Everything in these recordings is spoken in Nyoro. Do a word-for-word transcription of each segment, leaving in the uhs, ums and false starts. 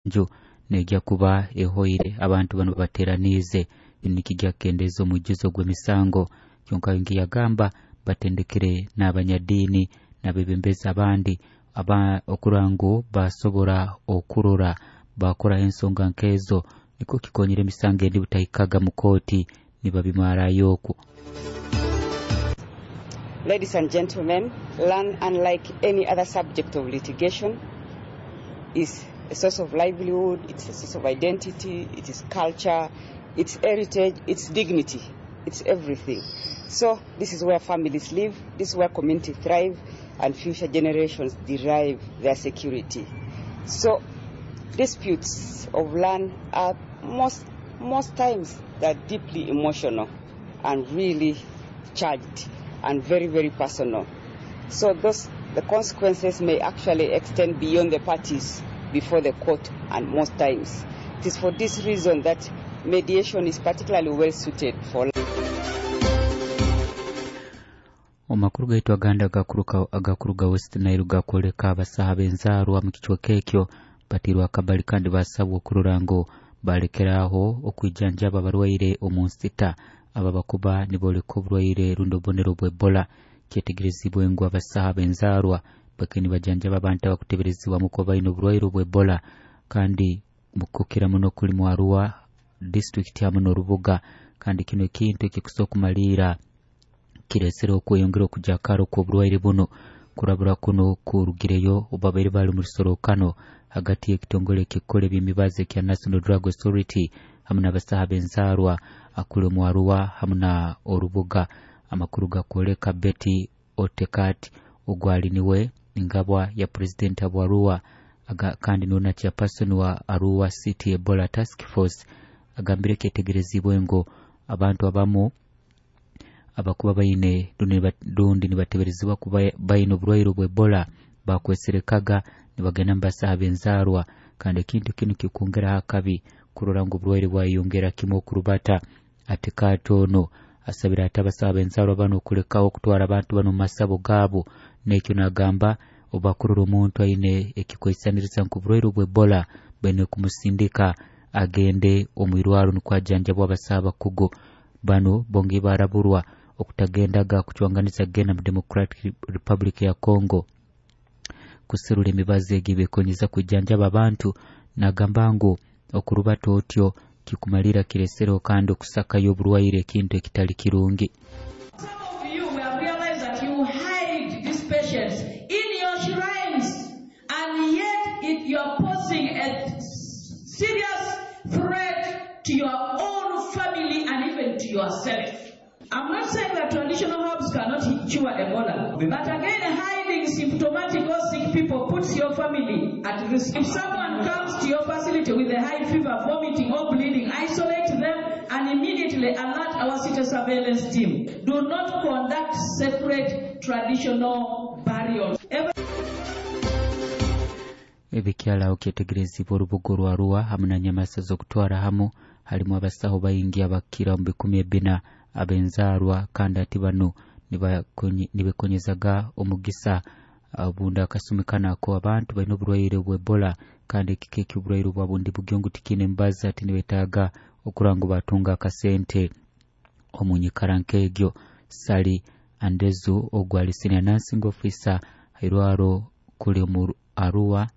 Nju neija kuba ehoire abantu banu bateraniize nikijja kukendeeza omwijuzo gw'emisango. Kyonka yagamba batendekere n'abanyadiini n'abebembezi abandi aba okurora ngu basobora okurora bakoraho ensonga nk'ezo, nikwo kikonyera emisango endi butahikaga mu kooti nibabimarayo okwo. Ladies and gentlemen, land, unlike any other subject of litigation, is a source of livelihood, it's a source of identity, it is culture, it's heritage, it's dignity, it's everything. So this is where families live, this is where communities thrive, and future generations derive their security. So disputes of land are most, most times they're deeply emotional and really charged and very, very personal. So those, the consequences may actually extend beyond the parties before the court, and most times. It is for this reason that mediation is particularly well suited for Omu gaitu agandi agakuruga West Nile gakwoleka abasaha b'enzaarwa mu kicweka ekyo batiirwe akabali kandi basabwa okurora ngu balekeraho okwijanjaba abarwaire omu nsita aba bakuba niboleka oburwaire rundi obubonero bwa Ebola. Kyetegerezibwe ngu abasaha b'enzaarwa bake nibajanjaba abantu abakuteberezibwamu kuba baine oburwaire obwa Ebola, kandi kukira muno kuli mu Arua disitulikiti hamu n'orubuga, kandi kino ekintu ekikusobola okumaliira kiresere okweyongera okujakara okw'oburwaire buno. Kurabura kuno kurugireyo obu babaire bali omu rusorrokano hagati y'ekitongole ekikukora eby'emibazi ekya National Drug Authority hamu n'abasaha b'enzaarwa akuli omu Arua hamu na orubuga. Amakuru gakwoleka Betty Otekat ogwali niwe ngabwa ya purezidenti wa Arua kandi niwe na chairperson wa Arua City Ebola Task Force agambire kyetegerezibwe ngu abantu abamu abakuba baine rundi nibateberezibwa kuba baine oburwaire obwa Ebola bakweserekaga nibagenda mu basaha b'enzaarwa, kandi ekintu kinu kikwongeraho akabi kurora ngu oburwaire bwayeyongera kimu okurubata. Atekaati ono asabire ati abasaha b'enzaarwa banu okulekaho okutwara abantu banu omu masabo gaabo, n'ekyo nagamba obu bakurora omuntu aine ekikwesaniriza nk'oburwaire obwa Ebola baine kumusindika agende omu irwarro nukwo ajanjabwe abasaha abakugu. Banu bongeye baraburwa okutagendaga kucwanganiza kugenda mu Democratic Republic ya Congo kuserura emibazi egi ebekonyeza kwijanjaba abantu. Nagamba ngu okurubata otyo kikumalira kiresereho kandi okusakayo oburwaire, ekintu ekitali kirungi. Some of you have realized that you hide these patients in your shrines, and yet it, you are posing a serious threat to your own family and even to yourself. I'm not saying that traditional herbs cannot cure Ebola, but again, hiding symptomatic or sick people puts your family at risk. If someone comes to your facility with a high fever, vomiting or bleeding, isolate them and immediately alert our city surveillance team. Do not conduct separate traditional burials. Every Ebikyalaho kyetegerezibwa orubuga orwa Arua hamu na Nyamasa z'okutwara hamu halimu abasaho baingi abakira omu bikumi ebina ab'enzaarwa, kandi ati banu nibekonyezaga omugisa obundi akasumi kanu ako abantu baine oburwaire obwa Ebola, kandi ekika eky'oburwaire obwa bundi bugyo ngu tikiine emibazi, ati nibetaaga okurora ngu batunga akasente omu nyikara nk'egyo. Sally Andezu ogu ali senior nursing officer hairwaro kuli omu Arua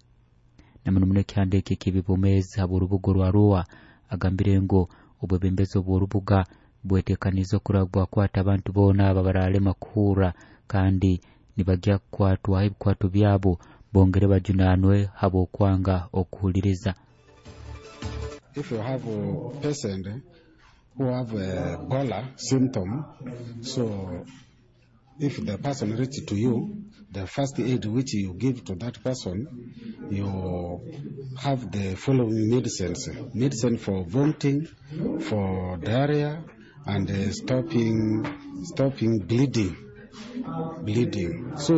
na muno muno ekihandiiko eky'ebyobwomeezi habw'orubuga orwa Arua agambire ngu obwebembezi obw'orubuga bwetekaniize okurora bwakwata abantu boona abo abaralema kuhurra, kandi nibagya kukwatwaho ebikwato byabo bongere bajunanwe habw'okwanga okuhuliriza. If you have a patient who have a Ebola symptom, so if the person reaches to you, the first aid which you give to that person, you have the following medicines. Medicine for vomiting, for diarrhea, and uh, stopping, stopping bleeding. Bleeding. So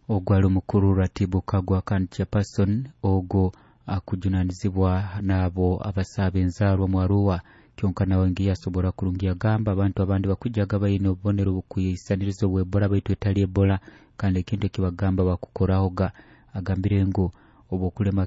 Ogwo ali omukuru Ratibu Kagwa kandi chairperson ogwo akujunanizibwa n'abo abasaha b'enzaarwa mu Arua. Kyonka nawe ngiye asobora kurungi agamba abantu abandi bakwijaga baine obubonero bukwisaniriza obwa Ebola baitu etali Ebola, kandi ekintu ekibagamba bakukorahoga. Agambire ngu obwokulema